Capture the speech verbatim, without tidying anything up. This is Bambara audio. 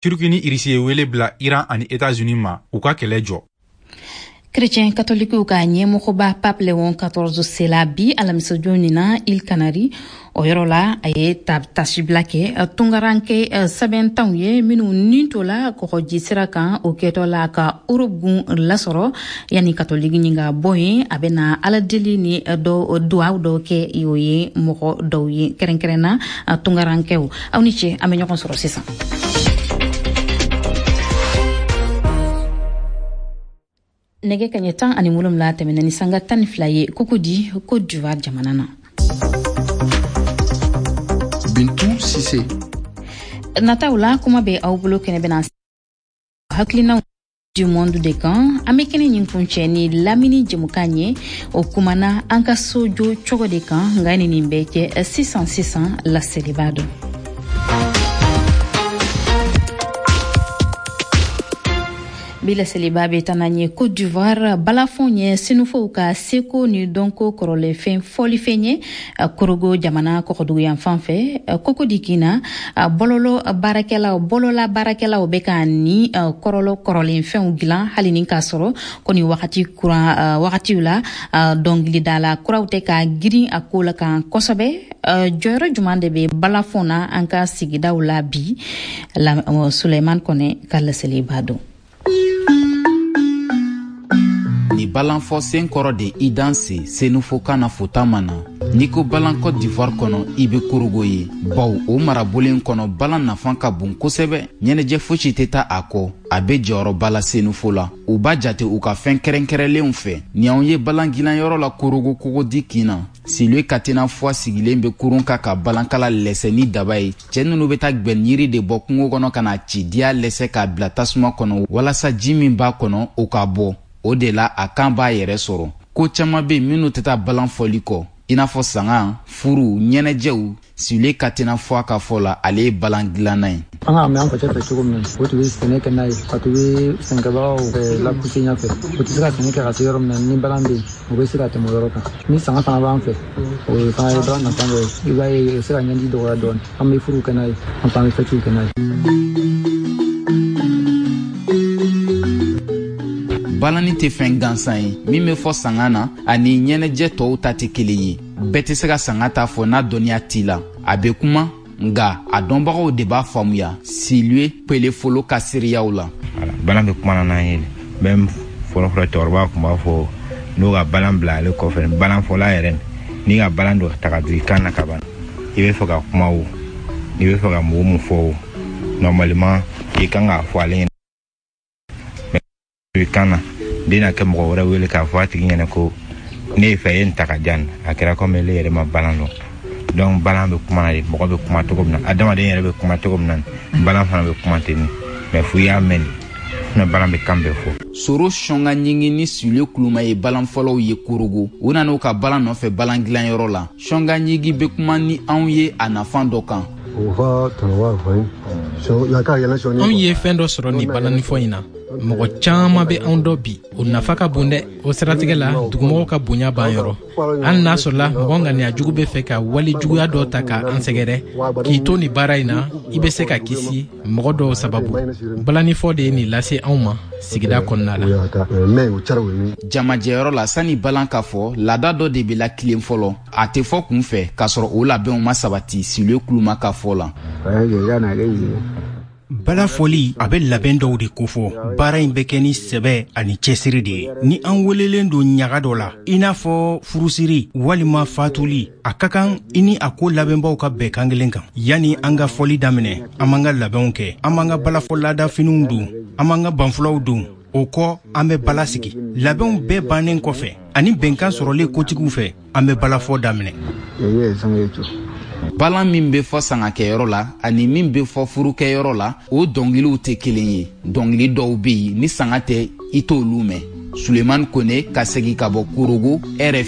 Turki ni Irisi ye wele bila Iran ani États-Unis ma, u ka kɛlɛ jɔ. Chrétien katolikiw ka ɲɛmɔgɔba Pape Léon quatorze sela bi alamisajon nin na Îles Canaries. O yɔrɔ la, a ye tasibila kɛ tungaranke sɛbɛntanw ye minnu nin tola kɔgɔji sira kan, o kɛtɔ la ka Europe gun lasɔrɔ. Yanni katoliki ɲin ka bɔ yen, a bɛna aladeli ni dɔ duwaw dɔw kɛ o ye mɔgɔ dɔw ye, kɛrɛnkɛrɛnna tungarankɛw. Aw ni ce, an bɛ ɲɔgɔn sɔrɔ sisan. Nɛgɛ kaɲɛ tan ani wolonwula tɛmɛna ni sanga tan ni fila ye Cocody, Côte d'Ivoire jamana na. Bintu Sise. Nataw la, kuma bɛ aw bolo, kɛnɛ bɛna hakilinaw du monde de kan. An bɛ kɛnɛ ɲin kuncɛ ni lamini jɛmukan ye, o kumana an ka so jɔ cogo de kan. Nka ni nin bɛɛ kɛ, sisan sisan laseliba don. Bi laseliba bɛ taa n'an ye Côte d'Ivoire. Balafon ye senufow ka seko ni dɔnko kɔrɔlenfɛn fɔlifɛn ye Korogo jamana kɔgɔdugu fan fɛ. Cocody kin na, bɔlɔlɔ baarakɛlaw, bɔlɔla baarakɛlaw bɛ ka ni kɔrɔlɔ kɔrɔlenfɛnw dilan, hali ni k'a sɔrɔ ko nin wagati kuran wagatiw la, dɔnkilidala kuraw tɛ ka girin a ko la kan kosɛbɛ. Jɔyɔrɔ jumɛn de bɛ balafon na an ka sigidaw la bi? Suleiman Kɔnɛ ka laseliba don. Ni balanfɔ sen kɔrɔ de i danse senufokan na fotama na. N'i ko balan Côte d'Ivoire kɔnɔ, i be Korogo ye, baw o marabolen kɔnɔ, balan nafan ka bon kosɛbɛ. Ɲɛnajɛ fosi tɛ taa a kɔ. A be jɔyɔrɔba la senufo la, u b'a jate u ka fɛn kɛrɛnkɛrɛnlenw fɛ. Ni anw ye balan gilanyɔrɔ la Korogo Cocody kin na, Silue Katena Fwa sigilen be kurun kan ka balankala lɛsɛ ni daba ye. Cɛɛ nunu be taa gwɛniyiri de bɔ kungo kɔnɔ ka na ci diya lɛsɛ k'a bila tasuma kɔnɔ walasa ji min b'a kɔnɔ, o ka bɔ. O de la a kan b'a yɛrɛ sɔrɔ. Ko caaman be minnu tɛ taa balan fɔli kɔ, i n'a fɔ sanga, furu, ɲɛnajɛw. Silue Katena Fwa ka fɔ la, ale ye balan dilanna ye. An k'a mɛn an facɛ fɛ cogo min na, o tun bɛ sɛnɛ kɛ n'a ye, ka tun bɛ sɛnɛkɛbagaw lapuse ɲɛfɛ. O tɛ se ka sɛnɛ kɛ ka se yɔrɔ min na, ni balan bɛ yen, o bɛ se ka tɛmɛ o yɔrɔ kan. Ni sanga fana b'an fɛ, o fana ye balan nafa dɔ ye. I b'a ye, o bɛ se ka ɲɛji dɔgɔya dɔɔnin. An bɛ furuw kɛ n'a ye, an fana bɛ fɛtiw kɛ n'a ye. Balani tɛ fɛn gansan ye min bɛ fɔ sanga na ani ɲɛnajɛ tɔw ta tɛ kelen ye. Bɛɛ tɛ se ka sanga ta fɔ n'a dɔnniya t'i la. A bɛ kuma, nka a dɔnbagaw de b'a faamuya. Silue Pelefolo ka seereyaw la. Balan bɛ kuma n'an ye même fɔlɔfɔlɔ, cɛkɔrɔba tun b'a fɔ n'o ka balan bila ale kɔfɛ, balan fɔla yɛrɛ, n'i ka balan dɔ ta ka don i kan na ka ban, i bɛ fɛ ka kuma o, n'i bɛ fɛ ka mɔgɔ mun fɔ o, normalement i kan k'a fɔ ale ɲɛna i kan na. Den na kɛ mɔgɔ wɛrɛ wele k'a fɔ a tigi ɲɛna ko ne ye fɛ ye nin ta ka di yan, a kɛra komi ele yɛrɛ ma balan dɔn. Donc balan bɛ kuma na de, mɔgɔ bɛ kuma cogo min na, adamaden yɛrɛ bɛ kuma cogo min na, balan fana bɛ kuma ten. Mais fo i y'a mɛn de, balan bɛ kan bɛɛ fɔ. Soro Sɔnga ɲingi ni Sule Kuluma ye balan fɔlɔw ye Korogo. U nana u ka balan nɔfɛ balan dilanyɔrɔ la. Sɔnga ɲingi bɛ kuma ni anw ye a nafan dɔ kan. Anw ye fɛn dɔ sɔrɔ nin balanifɔ in na. Mɔgɔ caman bɛ anw dɔn bi, o nafa ka bon dɛ. O siratigɛ la, dugumɔgɔw ka bonya b'an yɔrɔ. Hali n'a sɔrɔla mɔgɔ ŋaniya jugu bɛ fɛ ka wale juguya dɔ ta ka an sɛgɛrɛ, k'i to nin baara in na, i bɛ se ka kisi mɔgɔ dɔw sababu. Balanifɔ de ye nin lase anw ma sigida kɔnɔna la. Jamajɛyɔrɔ la, sani balan ka fɔ, laada dɔ de bɛ lakilen fɔlɔ. A tɛ fɔ kun fɛ k'a sɔrɔ o labɛnw ma sabati. Silue Kuluma ka fɔ la. Bala fɔli a bɛ labɛn dɔw de kofɔ. Baara in bɛ kɛ ni sɛbɛ ani cɛsiri de ye. Ni an welelen don ɲaga dɔ la, i n'a fɔ furusiri walima fatuli, a ka kan i ni a ko labɛnbaw ka bɛn kan kelen kan. Yanni an ka fɔli daminɛ, an b'an ka labɛnw kɛ, an b'an ka balafɔ laadafiniw don, an b'an ka banfulaw don. O kɔ, an bɛ bala sigi. Labɛnw bɛɛ bannen kɔfɛ ani bɛnkan sɔrɔlen kotigiw fɛ, an bɛ balafɔ daminɛ. Balan min bɛ fɔ sangakɛyɔrɔ la ani min bɛ fɔ furukɛyɔrɔ la, o dɔnkiliw tɛ kelen ye. Dɔnkili dɔw bɛ yen, ni sanga tɛ, i t'olu mɛn. Sulemani Kone ka segin ka bɔ Korogo, R F I.